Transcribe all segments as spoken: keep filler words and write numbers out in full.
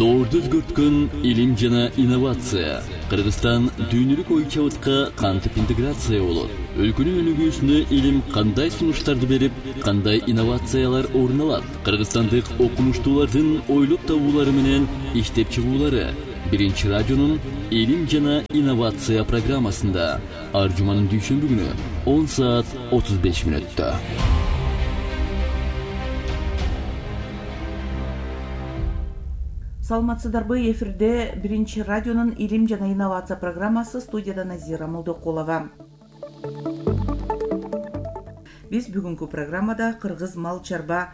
доорду өзгөрткөн илим жана инновация. Кыргызстан дүйнөлүк ой чабытка кантип интеграция болот? Өлкөнүн өнүгүүсүнө илим кандай сунуштарды берип, кандай инновациялар орун алат? Кыргызстандык окумуштуулардын ойлоп табуулары менен иштеп чыгуулары Биринчи радионун илим жана инновация программасында ар жуманын дүйшөмбү күнү он саат отуз беш мүнөттө. Саламатсыздарбы? Эфирде Биринчи радионун илим жана инновация программасы, студияда Назира Молдокулова. Биз бүгүнкү программада Кыргыз мал чарба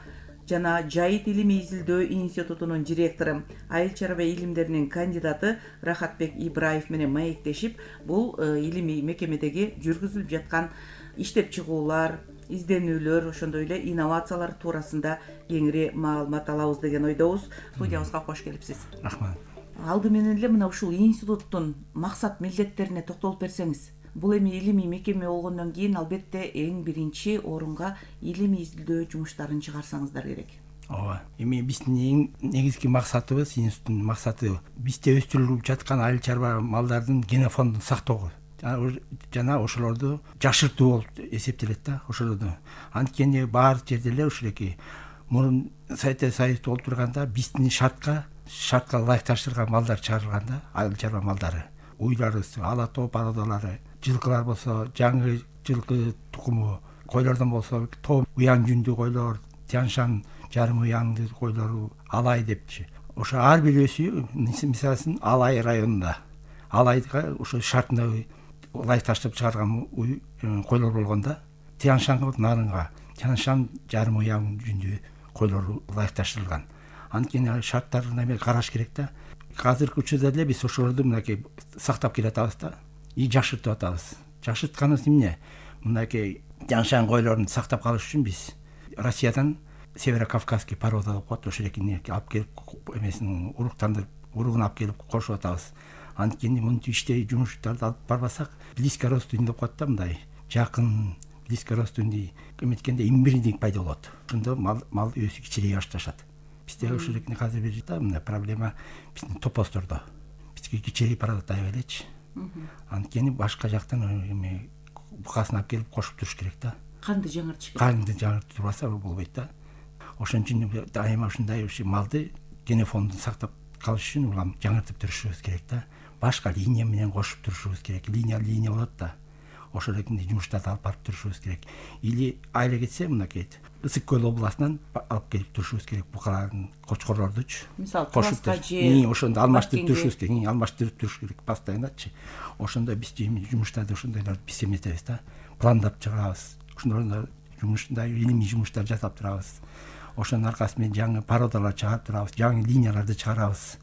жана жайыт илимий изилдөө институтунун директору, айыл чарба илимдеринин кандидаты Рахатбек Ибраев менен маектешип, бул илимий мекемедеги жүргүзүлүп жаткан иштеп чыгуулар, изденүүлөр, ошондой эле инновациялар туурасында кеңири маалымат алабыз деген ойдобуз. Студиябызга кош келипсиз. Рахмат. Алды менен эле мына ушул институттун максат милдеттерине токтолуп берсеңиз. Бул эми илимий мекеме болгондон кийин албетте эң биринчи орунга илимий изилдөө жумуштарын чыгарсаңыздар керек. Ооба. Эми биздин эң негизги максатыбыз, институттун максаты бизде өстүрүлүп жаткан айыл чарба малдардын генофондун сактоо жана ошолорду жашыртуу болуп эсептелет да, ошолорду. Анткени баардык жерде эле ушулеки мурун Совет Союзда болуп турганда биздин шартка шартка ылайыкташтырылган малдар чыгарылган да, айыл чарба малдары. Уйларыбыз, ала тоо пародалары, жылкылар болсо жаңы жылкы тукуму, койлордон болсо тоо уяң жүндүү койлор, Тяншан жарым уяңдуу койлору, Алай депчи. Ошо ар бир өсүү, мисалы үчүн Алай районунда, Алайга ошо шартына ылайыкташтырып чыгарган койлор болгондо, Тяншанга нарынга Тяншан жарым уяң жүндүү койлору ылайыкташтырылган. Анткени шарттарын эме караш керек да. Азыркы учурда эле биз ошолорду мынакей сактап келатабыз да, и жашыртып атабыз. Жашыртканыбыз эмне? Мынакей Тяншан койлорун сактап калыш үчүн биз Россиядан Северо-Кавказский порода деп коет, ошолекини алып келип эмесин уруктандырып, уругун алып келип кошуп атабыз. Анткени мынтип иштей жумуштарды алып барбасак, близкородственный деп коет да, мындай жакын близкородственный эметкенде инбридинг пайда болот. Ошондо мал мал өсүп кичирей башташат. Бизде ошолекини азыр бир да мына проблема биздин топостордо. Бизге кичирей порода тая элечи. Анткени башка жактан эме букасын алып келип кошуп туруш керек да. Канды жаңыртыш керек. Канды жаңыртып турбаса болбойт да. Ошон үчүн дайыма ушундай ушу малды генофондун сактап калыш үчүн улам жаңыртып турушубуз керек да. Башка линия менен кошуп турушубуз керек. Линия линия болот да. Ошолекинде жумуштарды алып барып турушубуз керек. Или айла кетсе мынакей Ысык көл областынан алып келип турушубуз керек. Букалардын, кочкорлордучу. Мисалы, кошуп же ошондо алмаштырып турушубуз керек. Алмаштырып туруш керек постоянночу. Ошондо биз жумуштарды ошондойлорду биз эметебиз да. Пландап чыгабыз. Ошондо жумуштай илимий жумуштар жасап турабыз. Ошонун аркасы менен жаңы породалар чыгарып турабыз, жаңы линияларды чыгарабыз.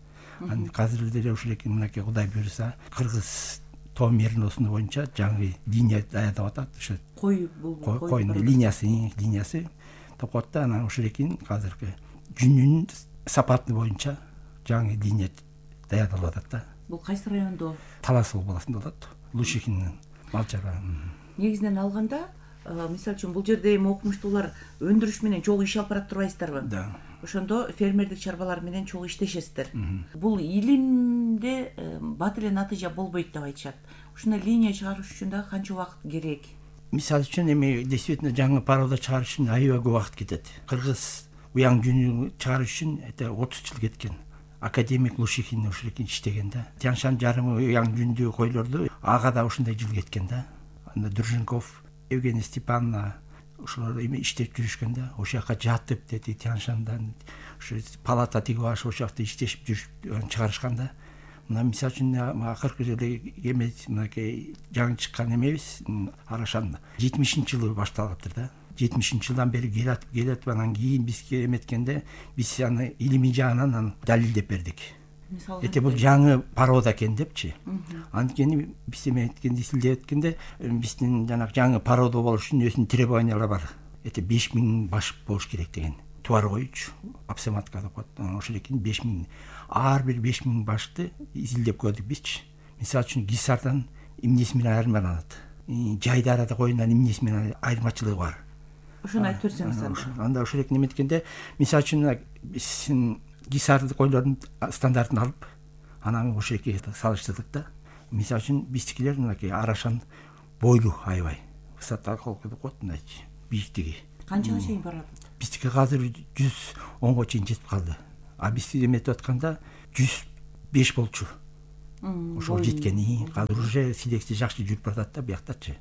Азыр деле ушулеки мынакей Кудай буйруса, Кыргыз тоо мериносуну боюнча жаңы линия даярдап атат. Ошо кой бул койдун линиясы, линиясы деп коет да. Анан ошолекин азыркы жүнүнүн сапаты боюнча жаңы линия даярдалып атат да. Бул кайсы райондо? Талас областында болот. Лушихиндин мал чарба. Негизинен алганда, мисалы үчүн бул жерде эми окумуштуулар өндүрүш менен чогуу иш алып барат турбайсыздарбы? Да. Ошондо фермердик чарбалар менен чогуу иштешесиздер. Бул илимде бат эле натыйжа болбойт деп айтышат. Ушундай линия чыгарыш үчүн да канча убакыт керек? Мисалы үчүн эми действительно жаңы порода чыгарыш үчүн аябай көп убакыт кетет. Кыргыз уяң жүнү чыгарыш үчүн это отуз жыл кеткен. Академик Лушихин ушулекин иштеген да. Тяншан жарым уяң жүндүү койлорду ага да ушундай жыл кеткен да. Анда Друженков, Евгения Степановна ошолор эми иштеп жүрүшкөн да. Ошол жака жатып деди Тяншандан ушу палата тигип алышып ошол жакта иштешип жүрүп чыгарышкан да. Мына мисалы үчүн акыркы жылы эме мынакей жаңы чыккан эмебиз Арашан жетимишинчи жылы башталыптыр да. жетимишинчи жылдан бери келатып келатып анан кийин бизге эметкенде биз аны илимий жагынан аны далилдеп бердик. Эте бул жаңы порода экен депчи. Анткени биз эметкенде изилдеп эткенде биздин жанагы жаңы порода болуш үчүн өзүнүн требованиялары бар. Эте беш миң баш болуш керек деген. Туар койчу, апсематка деп коет. Ошолекин беш миң. Ар бир беш миң башты изилдеп көрдүк бизчи. Мисалы үчүн Гисардан эмнеси менен айырмаланат. Жайдарада койгондон эмнеси менен айырмачылыгы бар. Ошону айтып берсеңиз анда. Анда ошолекин эметкенде, мисалы үчүн биздин гисардык ойлордун стандартын алып анан ошол эки салыштырдык да. Мисалы үчүн биздикилер мынакей арашан бойлуу аябай высота деп коет, мындайчы бийиктиги канчага чейин барат? Биздики азыр жүз онго чейин жетип калды. А биз эметип атканда жүз беш болчу. Ошол жеткени азыр уже силекция жакшы жүрүп баратат да бияктачы.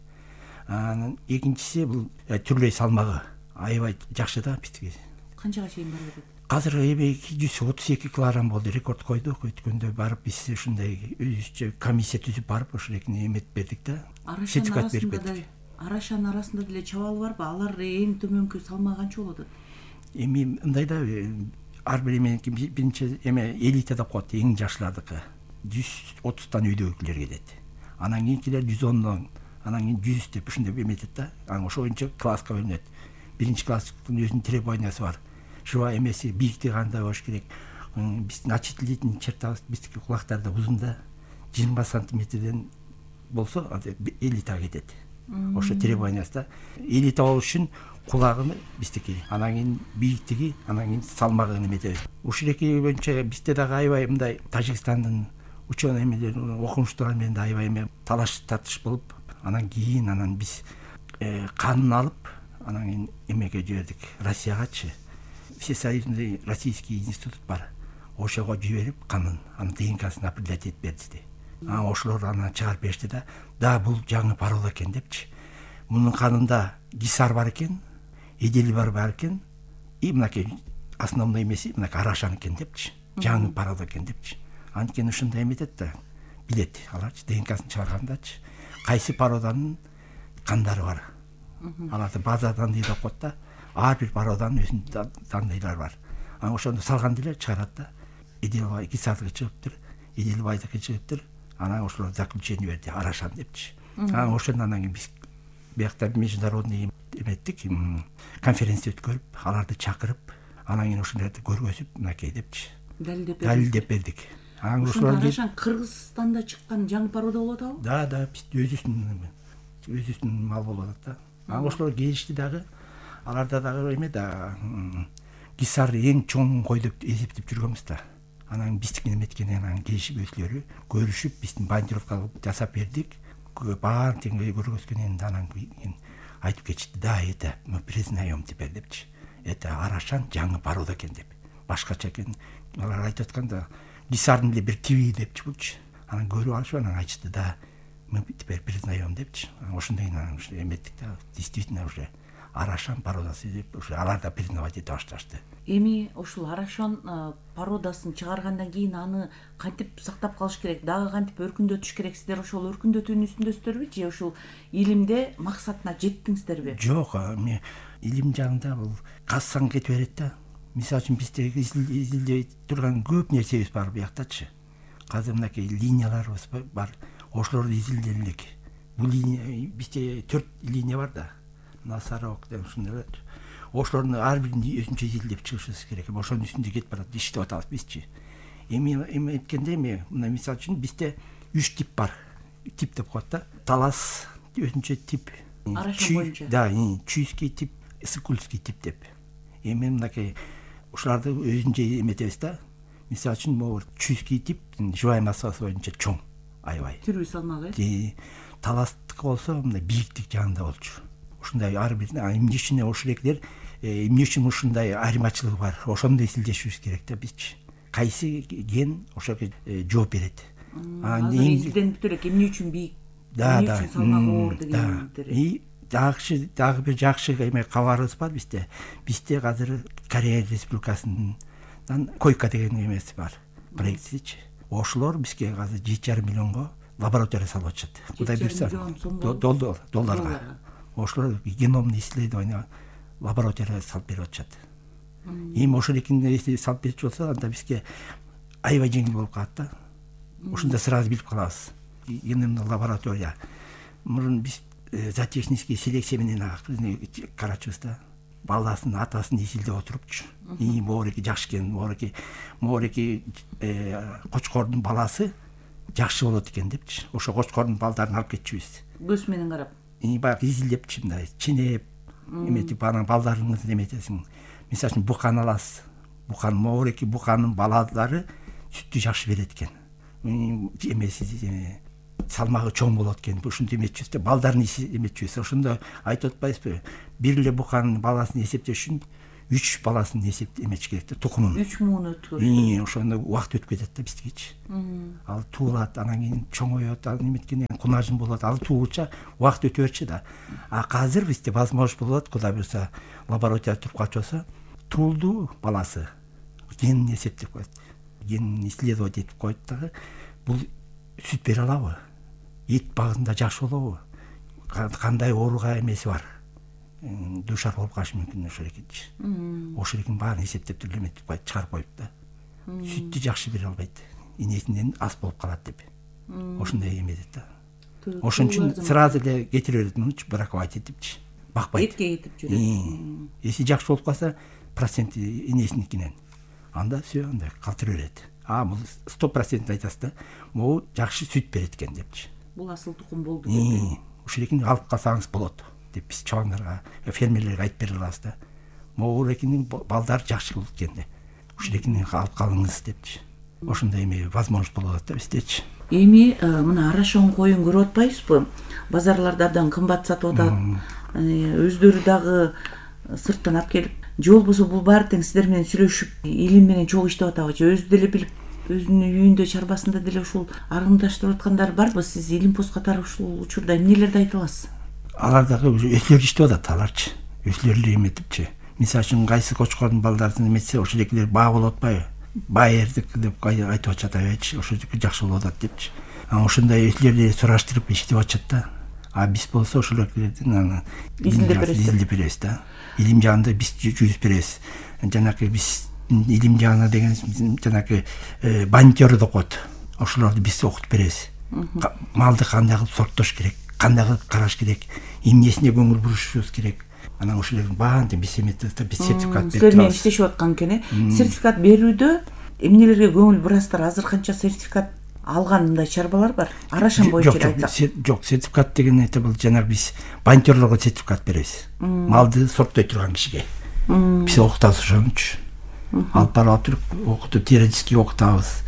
Анан экинчиси бул түрлөй салмагы аябай жакшы да биздики. Канчага чейин барып атат? Азыр эми жүз отуз эки килограмм болду, рекорд койдук. Өткөндө барып биз ушундай өзүбүзчө комиссия түзүп барып ошол экини эметип бердик да. Сертификат берип бердик. Арашан арасында деле чабал барбы? Алар эң төмөнкү салмак канча болот? Эми мындай да, ар бир эменики биринчи эме элита деп коет, эң жакшылардыкы жүз отуздан үйдөгүлөр келет. Анан кийинкилер жүз ондон, анан кийин жүз деп ушундай эметет да. Анан ошол боюнча класска бөлүнөт. Биринчи класстын өзүнүн требованиясы бар. Шуба эмеси бийиктиги кандай болуш керек? Биздин очислительный чертабыз биздики кулактарда узун да, жыйырма сантиметрден болсо элитага кетет. Ошо требованиясы да. Элита болуш үчүн кулагы биздики, анан кийин бийиктиги, анан кийин салмагы эметебиз. Ушул эки боюнча бизде дагы аябай мындай Тажикстандын ученый эмелери, окумуштуулар менен да аябай эме талаш тартыш болуп, анан кийин анан биз канын алып, анан кийин эмеге жибердик, Россиягачы. Всесоюзный российский институт бар. Ошого жиберип канын, анын ДНКсын определять этип берди. Анан ошолор анан чыгарып беришти да, да бул жаңы порода экен депчи. Мунун канында гисар бар экен, эдели бар бар экен, и мынакей основной эмеси мынакей арашан экен депчи. Жаңы порода экен депчи. Анткени ушундай эметет да, билет аларчы ДНКсын чыгаргандачы. Кайсы породанын кандары бар. Аларды база данные деп коет да. Ар бир породанын өзүнүн данныйлары бар. Анан ошону салган деле чыгарат да. Эделбай гисардыгы чыгыптыр, Эделбайдыкы чыгыптыр. Анан ошолор заключение берди, арашан депчи. Анан ошондон анан кийин биз биякта международный эметтик, конференция өткөрүп, аларды чакырып, анан кийин ошондорду көргөзүп, мынакей депчи. Далилдеп бердик. Анан ошолор арашан Кыргызстанда чыккан жаңы порода болот абы? Да, да, биз өзүбүздүн өзүбүздүн мал болуп атат да. Анан ошолор келишти дагы. Аларда дагы эме да, гисар эң чоң кой деп эсептеп жүргөнбүз да. Анан биздикин эметкенен анан келишип өзүлөрү көрүшүп, биздин бандировка жасап бердик. Баарын тең көргөзгөнен анан кийин айтып кетишти, да, это мы признаем теперь депчи. Это арашан жаңы порода экен деп. Башкача экен. Алар айтып атканда гисардын эле бир тиби депчи булчу. Анан көрүп алышып анан айтышты, да, мы теперь признаем депчи. Ошондой анан эметтик да, действительно уже арашан породасы деп ушу алар да признавать эте башташты. Эми ушул арашан породасын чыгаргандан кийин аны кантип сактап калыш керек, дагы кантип өркүндөтүш керек? Сиздер ошол өркүндөтүүнүн үстүндөсүздөр же ушул илимде максатына жеттиңиздерби? Жок, эми илим жагында бул кассаң кетип берет да. Мисалы үчүн бизде изилдей турган көп нерсебиз бар бияктачы. Азыр мынакей линияларыбыз бар. Ошолорду изилдей элек. Бул линия бизде төрт линия бар да. Насарок деп ушундай. Ошолордун ар бирин өзүнчө изилдеп чыгышыбыз керек. Ошонун үстүндө кетип барат, иштеп атабыз бизчи. Эми эми айтканда эми мына мисалы үчүн бизде үч тип бар. Тип деп коет да. Талас өзүнчө тип. Арашан боюнча. Да, чуйский тип, сыкульский тип деп. Эми мынакей ушуларды өзүнчө эметебиз да. Мисалы үчүн могу чуйский тип живая массасы боюнча чоң, аябай. Түрүү салмагы. Таластык болсо мындай бийиктик жагында болчу. Ушундай ар бир эмне үчүн ошол экилер эмне үчүн ушундай айырмачылыгы бар, ошону изилдешибиз керек да бизчи. Кайсы ген ошого жооп берет. Азыр изилденип элек эмне үчүн бийик, эмне үчүн салмагы оор дегендер. И жакшы дагы бир жакшы эме кабарыбыз бар бизде. Бизде азыр Корея Республикасынан койка деген эмеси бар, проектичи. Ошолор бизге азыр жети жарым миллионго лаборатория салып атышат. Кудай берсе долларга. Ошолор геномный исследование лаборатория салып берип атышат. Эми ошол экини салып берчү болсо, анда бизге аябай жеңил болуп калат да. Ошондо сразу билип калабыз. Геномный лаборатория. Мурун биз зоотехнический селекция менен карачыбыз да. Баласын, атасын изилдеп отурупчу. И моореки жакшы экен, моореки моореки кочкордун баласы жакшы болот экен депчи. Ошо кочкордун балдарын алып кетчүбүз. Көз менен карап. И баягы изилдепчи мындай ченеп, эметип анан балдарыңызды эметесиң. Мисалы үчүн буканы аласыз. букан могу эки буканын балалары сүттү жакшы берет экен. Эмеси салмагы чоң болот экен. Ушинтип эметчүбүз да, балдарын эметчүбүз. Ошондо айтып атпайбызбы? Бир эле буканын баласын эсептеш үчүн үч баласын эсеп эметиш керек да, тукумун. үч муун өткөрүш. Ошондо убакыт өтүп кетет да биздикичи. Ал туулат, анан кийин чоңоет, анан эметкенден кийин кунажын болот. Ал туулуча убакыт өтө берчү да. А азыр бизде возможность болот, Кудай буюрса, лаборатория туруп калчу туулду баласы генин эсептеп коет. Генин исследовать этип коет дагы. Бул сүт бере алабы? Эт багында жакшы болобу? Кандай ооруга эмеси бар? Душар болуп калышы мүмкүн ошол экенчи. Ошол экенин баарын эсептеп туруп эметип коюп, чыгарып коюп да. Сүттү жакшы бере албайт. Энесинен аз болуп калат деп. Ошондой эмедет да. Ошон үчүн сразу эле кетире берет мунучу, браковать этипчи. Бакпайт. Этке кетип жүрөт. Эси жакшы болуп калса, проценти энесиникинен. Анда все, анда калтыра берет. А, бул сто процент айтасыз да, могу жакшы сүт берет экен депчи. Бул асыл тукум болду деп. Ошол экени алып калсаңыз болот деп биз чоңдарга, фермерлерге айтып бере алабыз да. Могу экенин балдар жакшы болот экен деп. Ошол экени алып калыңыз депчи. Ошондой эме возможность болот да биздечи. Эми мына арашоң коюн көрүп атпайсызбы? Базарларда абдан кымбат сатып атат. Өздөрү дагы сырттан алып келип, же болбосо бул баары тең сиздер менен сүйлөшүп, илим менен чогуу иштеп атабы, же өзү деле билип, өзүнүн үйүндө, чарбасында деле ушул аргымдаштырып аткандар барбы? Сиз илим пост катары ушул учурда эмнелерди айта аласыз? Алар дагы өзүлөрү иштеп атат, аларчы. Өзүлөрү эметипчи. Мисалы үчүн кайсы кочкордун балдарын эметсе, ошол экилер баа болуп атпайбы? Байердик деп айтып атышат абайчы, ошол жакшы болуп атат депчи. А ошондой өзүлөрү сураштырып иштеп атышат да. А биз болсо ошол экилердин изилдеп беребиз да. Илим жагында биз жүз беребиз. Жанакы биз илим жагына деген жанакы банкер окут. Ошолорду биз окутуп беребиз. Малды кандай кылып сорттош керек, кандай кылып караш керек, эмнесине көңүл бурушубуз керек. Анан ошолордун баарын биз эметебиз да, биз сертификат берип турабыз. Силер менен иштешип аткан экен, э? Сертификат берүүдө эмнелерге көңүл бурасыздар? Азыр канча сертификат алган мындай чарбалар бар? Арашан боюнча айтсак. Жок, сертификат деген эте бул жанагы биз банкерлорго сертификат беребиз. Малды сорттой турган кишиге. Биз окутабыз ошонучу. Алып барып туруп окутуп, теоретически окутабыз.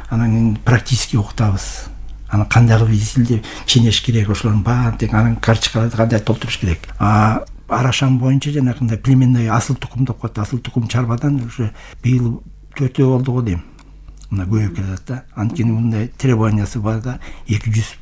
Анан кийин практически окутабыз. Анан кандай кылып изилдеп ченеш керек, ошолордун баарын тең анан карточкаларды кандай толтуруш керек. А арашан боюнча жанагындай племенной асыл тукум деп коет. Асыл тукум чарбадан уже быйыл төртөө болду го дейм. Мына көбөйүп келатат да. Анткени мындай требованиясы бар да, эки жүз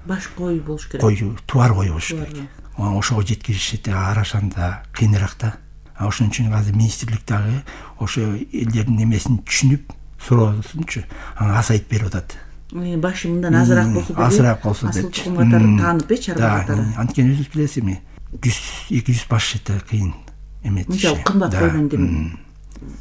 баш кой болуш керек. Кой, туар кой болуш керек. Ошого жеткиришет арашанда кыйыныраак да. А ошон үчүн азыр министрлик дагы ошо элдердин эмесин түшүнүп, суроосунчу, анан азайтып берип атат. Башы мындан азыраак болсо деле, азыраак болсо деп. Асыл тукум катары таанып, э, чарба катары. Анткени өзүңүз билесиз, жүз эки жүз баш эте кыйын эметиш. Мынча кымбат койдон дем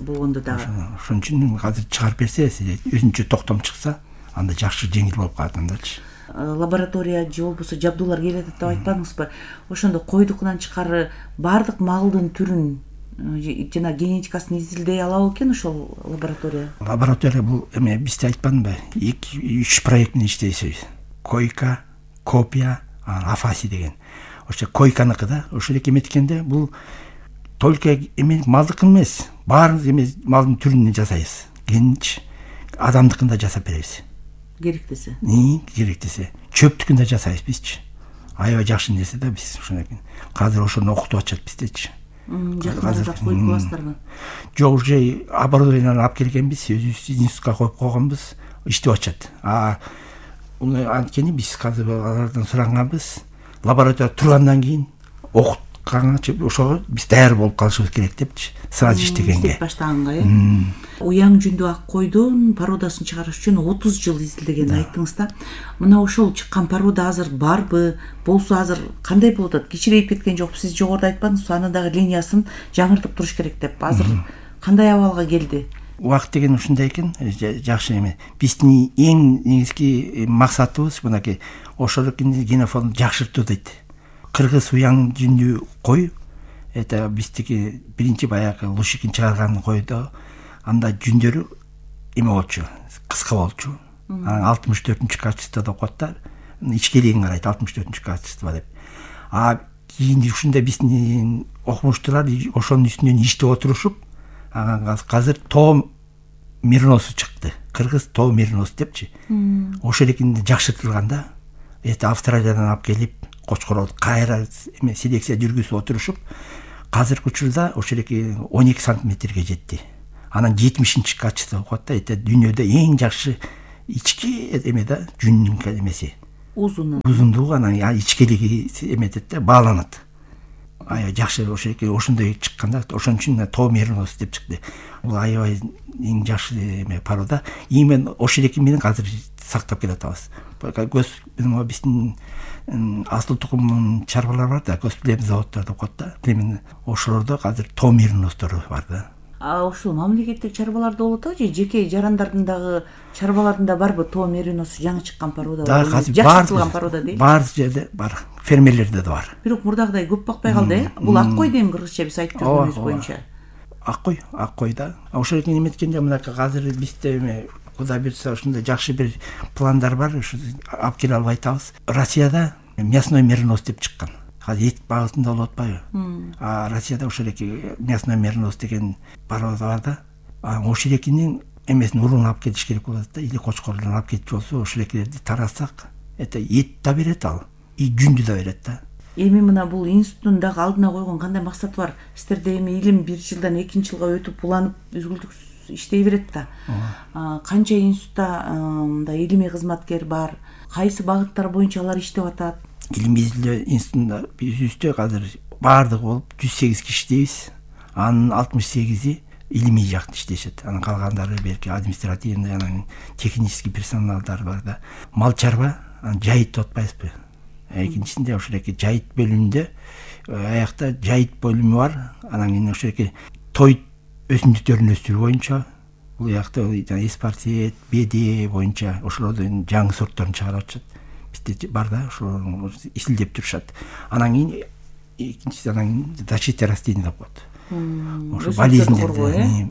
болгондо дагы. Ошон үчүн азыр чыгарып берсе, өзүнчө токтом чыкса, анда жакшы жеңил болуп калат андачы. Лаборатория же болбосо жабдуулар келет деп айтпадыңызбы? Ошондо койдукунан тышкары баардык малдын түрүн жана генетикасын изилдей алабы экен ошол лаборатория? Лаборатория бул эме бизде айтпадымбы? эки үч проект менен иштейбиз. Койка, копия, афаси деген. Ошо койканыкы да, ошол эки эметкенде бул только эме малдыкы эмес, баарын эме малдын түрүн жасайбыз. Генич адамдыкын да жасап беребиз. Керектесе. Ни, керектесе. Чөптүкүн да жасайбыз бизчи. Аябай жакшы нерсе да биз ошондой. Казыр ошону окутуп атышат биздечи. Жакында коюп коесуздарбы? Жок, уже оборудованияны алып келгенбиз, өзүбүз институтка коюп койгонбуз, иштеп атышат. А анткени биз казыр алардан сураганбыз, лаборатория тургандан кийин окутканга ошого биз даяр болуп калышыбыз керек депчи. Сразу иштегенге. Иштеп баштаганга, э? Уяң жүндүү ак койдун породасын чыгарыш үчүн отуз жыл изилдегенин айттыңыз да. Мына ошол чыккан порода азыр барбы? Болсо азыр кандай болуп атат? Кичирейип кеткен жокпу? Сиз жогоруда айтпадыңызбы, анын дагы линиясын жаңыртып туруш керек деп. Азыр кандай абалга келди? Убакыт деген ушундай экен, жакшы эме. Биздин эң негизги максатыбыз мынакей ошол генофондду жакшыртуу дейт. Кыргыз уяң жүндүү кой, это биздики биринчи баягы Лушикин чыгарган койдо анда жүндөрү эме болчу, кыска болчу. Анан алтымыш төртүнчү качествода деп коет да. Ичкелигин карайт, алтымыш төртүнчү качество деп. А кийин ушундай биздин окумуштуулар ошонун үстүнөн иштеп отурушуп, анан азыр тоо мериносу чыкты. Кыргыз тоо меринос депчи. Ошол экинди жакшыртылганда эти Австралиядан алып келип кочкорлорду кайра эме селекция жүргүзүп отурушуп, азыркы учурда ошол эки он эки сантиметрге жетти. Анан жетимишинчи качество коет да. Эте дүйнөдө эң жакшы ички эме да жүнүнүн эмеси. Узуну. Узундугу анан ичкилиги эметет да, бааланат. Аябай жакшы ошол эки ошондой чыкканда, ошон үчүн тоо меринос деп чыкты. Бул аябай эң жакшы эме порода. Именно ошол эки менен азыр сактап келатабыз. Көз биздин асыл тукумдун чарбалар бар да, көз плем заводдор деп коет да. Именно ошолордо азыр тоо мериностору бар да. А ушул мамлекеттик чарбаларда болот атабы же жеке жарандардын дагы чарбаларында барбы тоо меринос жаңы чыккан порода? Да, азыр жакшыртылган порода дейт. Бар жерде бар, фермерлерде да бар. Бирок мурдагыдай көп бакпай калды, э? Бул ак кой дейм кыргызча биз айтып жүргөнүбүз боюнча. Ак кой, ак кой да. Ошол экен эметкенде мынакей азыр бизде эме Кудай буйрса ушундай жакшы бир пландар бар, ушу алып келе албай атабыз. Россияда мясной меринос деп чыккан. Азыр эт багытында болуп атпайбы? А Россияда ошол эки мясной меринос деген порода бар да. А ошол экинин эмесин уруун алып келиш керек болот да. Или кочкорлорун алып кетчү болсо, ошол экилерди таратсак, это эт да берет ал, и жүндү да берет да. Эми мына бул институттун дагы алдына койгон кандай максаты бар? Сиздерде эми илим бир жылдан экинчи жылга өтүп уланып үзгүлтүксүз иштей берет да. Канча институтта мындай илимий кызматкер бар? Кайсы багыттар боюнча алар иштеп атат? Илимий изилдөө институтунда бизде азыр баардыгы болуп жүз сегиз киши иштейбиз. Анын алтымыш сегизи илимий жакта иштешет. Анан калгандары белки административный, анан технический персоналдар бар да. Мал чарба, жайыт деп атпайбызбы? Экинчисинде ошол эки жайыт бөлүмүндө аякта жайыт бөлүмү бар. Анан кийин ошол эки той өсүмдүктөрүн өстүрүү боюнча, бул жакта эспартиет, беде боюнча ошолордун жаңы сортторун чыгарып атышат. Бизде бар да, ошолорду изилдеп турушат. Анан кийин экинчиси анан защита растений деп коет. Ошо болезньдерди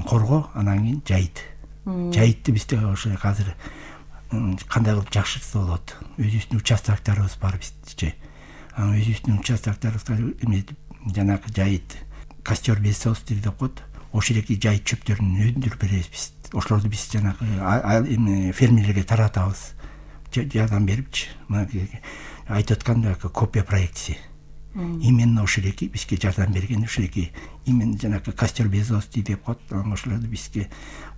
коргоо, анан кийин жайыт. Жайытты бизде ошо азыр кандай кылып жакшыртса болот? Өзүбүздүн участоктарыбыз бар бизче. Анан өзүбүздүн участоктарыбызга эме жанагы жайыт костер без деп коет. Ошол эки жайыт чөптөрүн өндүрүп беребиз биз. Ошолорду биз жанагы фермерлерге таратабыз. Жардам берипчи. Мына айтып аткандай копия проектиси. Именно ошол эки бизге жардам берген, ошол эки именно жанагы костер без деп коет. Ошолорду бизге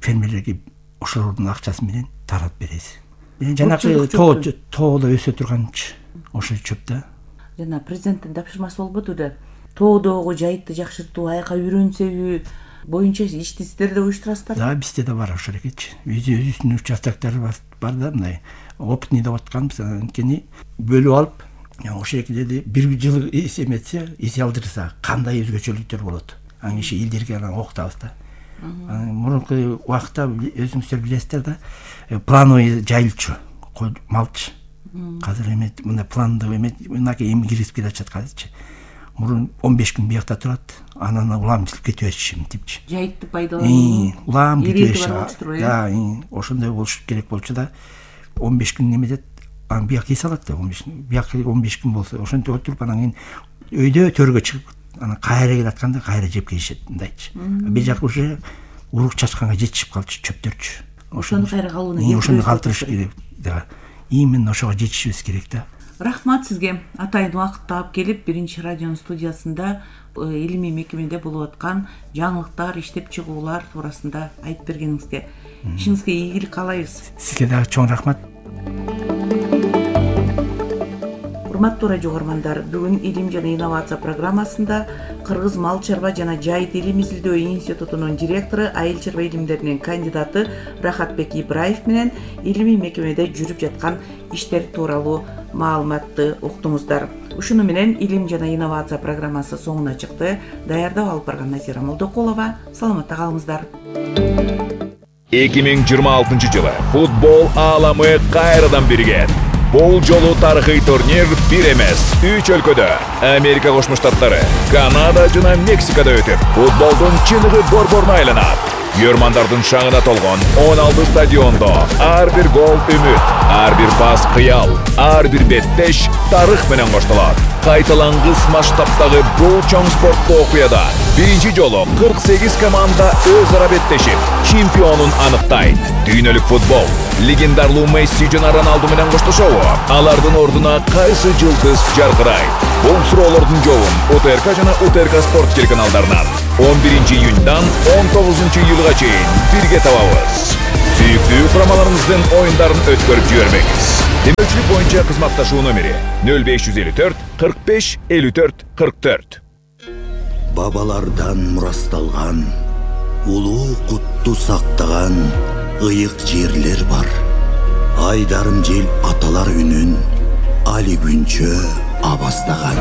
фермерлерге ошолордун акчасы менен таратып беребиз. Жанагы тоо тоодо өсө турганчы ошол чөп да. Жана президенттин тапшырмасы болбоду да. Тоодогу жайытты жакшыртуу, аяка үйрөнсөбү боюнча ишти сиздер да уюштурасыздар? Да, бизде да бар ошол экечи. Өзүбүздүн участоктор бар да, мындай опытный деп атканбыз. Анткени бөлүп алып, ошол экилерди бир жыл эметсе, эсе алдырса, кандай өзгөчөлүктөр болот. Анан иши элдерге анан окутабыз да. Мурунку убакытта өзүңүздөр билесиздер да, плановый жайылчу, малчы. Азыр эме мындай пландуу эме мынакей эми кирип келатат азырчы. Мурун он беш күн биякта турат, анан улам кетип өтүшүм депчи. Жайытты пайдалануу. Улам кетип өтүшү. Да, ошондой болуш керек болчу да. он беш күн неметет, анан бияк эс алат да, он беш күн. Бияк он беш күн болсо, ошентип отуруп анан кийин өйдө төргө чыгып, анан кайра келатканда кайра жеп келишет мындайчы. Бир жак уже урук чачканга жетишип калчу чөптөрчү. Ошону кайра калууна керек. Ошону калтырыш керек да. Именно ошого жетишибиз керек да. Рахмат сизге. Атайын убакыт таап келип, биринчи радионун студиясында илимий мекемеде болуп аткан жаңылыктар, иштеп чыгуулар туурасында айтып бергениңизге, ишиңизге ийгилик каалайбыз. Сизге дагы чоң рахмат. Урматтуу радио угармандар, бүгүн Илим жана инновация программасында Кыргыз мал чарба жана жайыт илим изилдөө институтунун директору, айыл чарба илимдеринин кандидаты Рахатбек Ибраев менен илимий мекемеде жүрүп жаткан иштер тууралуу маалыматты уктуңуздар. Ушуну менен Илим жана инновация программасы соңуна чыкты. Даярдап алып барган Назира Молдокулова. Саламатта калыңыздар. эки миң жыйырма алтынчы жылы футбол ааламы кайрадан биригет. Бул жолу тарыхый турнир бир эмес, үч өлкөдө, Америка Кошмо Штаттары, Канада жана Мексикада өтүп, футболдун чыныгы борборуна айланат. Көрмандардын шаңына толгон он алты стадиондо ар бир гол үмүт, ар бир пас кыял, ар бир беттеш тарых менен коштолот. Кайталангыс масштабтагы бул чоң спорттуу окуяда биринчи жолу кырк сегиз команда өз ара беттешип, чемпионун аныктайт. Дүйнөлүк футбол легендарлуу Месси жана Роналду менен коштошобу? Алардын ордуна кайсы жылдыз жаркырайт? Бул суроолордун жообун УТРК жана УТРК спорт телеканалдарынан он биринчи июньдан он тогузунчу июлга чейин бирге табабыз. Сүйүктүү курамаларыбыздын оюндарын өткөрүп жибербеңиз. Демөчүлүк боюнча кызматташуу номери нөл беш жүз элүү төрт кырк беш элүү төрт кырк төрт. Бабалардан мурасталган, улуу кутту сактаган ыйык жерлер бар. Айдарым жел аталар үнүн али күнчө абастаган.